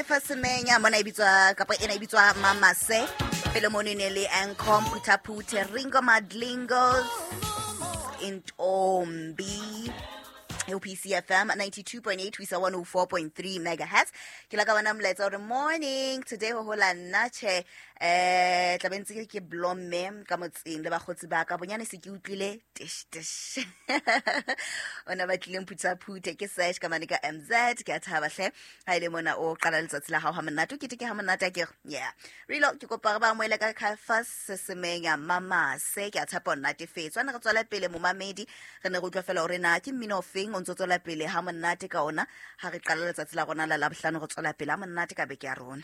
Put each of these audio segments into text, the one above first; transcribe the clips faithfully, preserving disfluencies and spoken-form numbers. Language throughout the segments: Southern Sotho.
Caiphus Semenya mona e bitswa kapa ena e bitswa Mamase. Pele mono e ne le Ancom Phuthaphuthe Ringo Madlingos Intombi. P C F M ninety-two point eight ho isa one oh four point three megahertz. Ke la ka bona molaetsa hore morning today ho hola nna tjhe, eh, tla be ntse ke blomme ka motseng le bakgotsi ba ka bonyane se ke utlwile tish tish. Ona ba tlileng Phuthaphuthe ke search ka mane ka M Z. Ke a thaba hle ha ile mona o qala letsatsi la hao ha monate, o keteke ha monate akere. Yeah. Rilo ke kopa re ba amohele ka Caiphus Semenya Mamase. Ke a tshepa o natefetswe. Ana re tswela pele momamedi, re ne re utlwa fela hore na ke mmino ofeng o ntso tswela pele ha monate ka ona ha re qala letsatsi la rona la Labohlano, re tswela pele ha monate ka beke ya rona.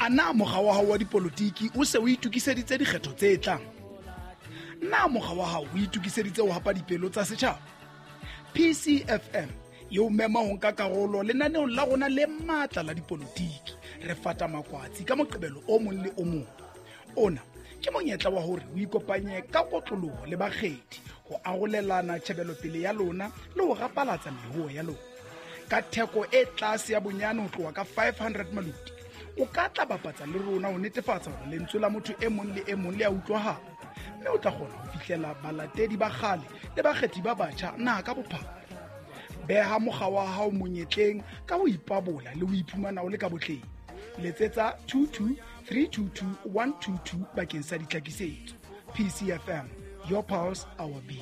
A na mokga wa hao wa dipolotiki o se o itokiseditse dikgetho tse tlang? Na mokga wa hao o itokiseditse ho hapa dipelo tsa setjhaba? P C F M e o mema ho nka karolo lenaneong la rona le matla la dipolotiki. Re fata makwatsi ka Moqebelo o mong le o mong. Ona ke monyetla wa hore o ikopanye ka kotloloho le bakgethi ho arolelana tjhebelopele ya lona le ho rapalatsa meruo ya lona. Ka theko e tlase ya bonyane ho tloha ka five hundred maloti, o ka tla bapatsa le rona ho netefatsa hore lentswe la motho e mong le e mong le a utlwahala, mme o tla kgona ho fihlela balatedi ba kgale le bakgethi ba batjha naha ka bophara. Beha mokga wa hao monyetleng ka ho ipabola le ho iphumana o le ka botleng. Letsetsa two two three two two one two two bakeng sa ditlhakisetso. P C F M, your pulse, our beat.